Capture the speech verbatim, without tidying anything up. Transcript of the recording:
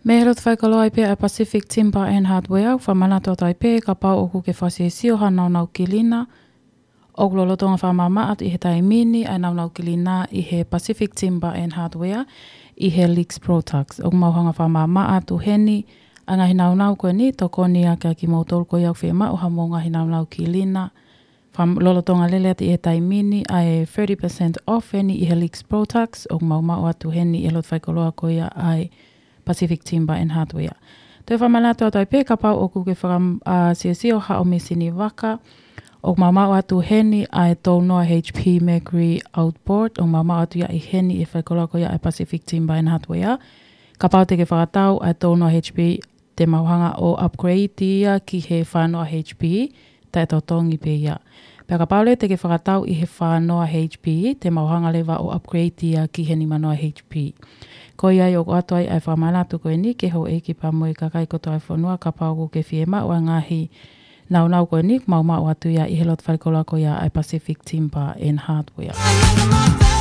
Mei he loto faikoloa ai pē ʻa e Pacific Timber and Hardware, ʻoku fakamanatu atu ai pē kapau ʻoku ke fakasiosio ha nāunau kilina ʻoku lolotonga fakamaʻamaʻa atu ʻi he taimi ni ʻa e nāunau kilina ʻi he Pacific Timber and Hardware ʻi he Lex Products. ʻOku mau hanga fakamaʻamaʻa atu heni ʻa e ngaahi nāunau ko eni, tokoni ʻa kimoutolu ko ia ʻoku fiemaʻu haʻamou ngaahi nāunau kilina. Fam-, lolotonga lele atu ʻi he taimi ni ʻa e thirty percent off heni ʻi he Lex Products, ʻoku mau maʻu atu heni ʻi he loto faikoloa ko ia ʻa e Pacific Timber and Hardware. Toe fakamanatu atu ai pē kapau ʻoku ke faka-, ʻa, siosio haʻo mīsini vaka, ʻoku mau maʻu atu heni ʻa e tolu noa H P Mercury Outboard, ʻoku mau maʻu atu ia ʻi heni ʻi he faikoloa ko ia ʻa e Pacific Timber and Hardware. Kapau te ke fakatau ʻa e tolu noa H P, te mau hanga ʻo upgrade ia ki he fā noa H P, taʻetotongi pē ia. Pea kapau leva te ke fakatau ʻi he fā noa H P, te mau hanga leva ʻo upgrade ia ki he nima noa H P. Ko ia ai ʻoku ʻoatu ai ʻa e fakamanatu ko eni ki he houʻeiki pea mo e kakai kotoa ʻo e fonua, kapau ʻoku ke fiemaʻu ʻa e ngaahi nāunau ko eni, mau maʻu atu ia ʻi he loto faikoloa ko ia ʻa e Pacific Timber and Hardware.